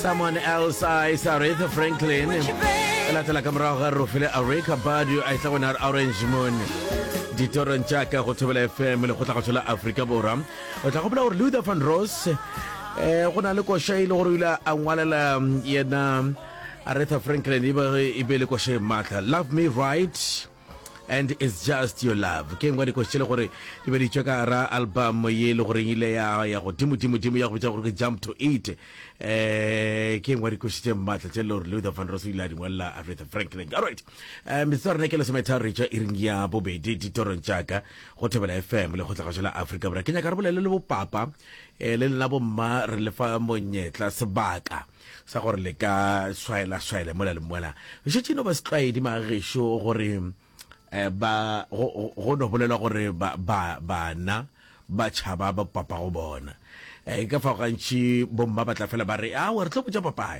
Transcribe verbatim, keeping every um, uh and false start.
Someone Else Eyes, Aretha Franklin. E latela ka morago ga Rofile Erykah Badu a etla gona Orange Moon. Ditorong tša ka go Thobela F M, lekgotlakgašo la Afrika Borwa. O tla gopola gore Luther Vandross eh go na le koša e le gore o ile a ngwalela yena Aretha Franklin, e be e be le koša e maatla, "Love Me Right and It's Just Your Love". Ke engwe dikoši tše le gore di be di tšwa ka gara album ye le goreng ile ya ya godimo dimo dimo ya go bitša gore ke Jump to It. eh ke engwe dikoši tše maatla tše le gore Luther Vandross o ile a di ngwalela Aretha Franklin. Alright, um metsotso ya rena ke lesometharo re tšwa iring ya bobedi ditorong tša ka go Thobela F M, lekgotlakgašo la Afrika Borwa. Ke nyaka re bolele le bopapa um le lena bomma, re lefa monyetla, sebaka sa gore le ka swaela swaela mola le mola. Šetše no ba setlwaedi magešo gore um ba go go no bolelwa gore ba ba bana ba tšhaba ba papa go bona. um ka fao gantši bomma ba tla fela ba re, "Awa, re tlo botša papaya."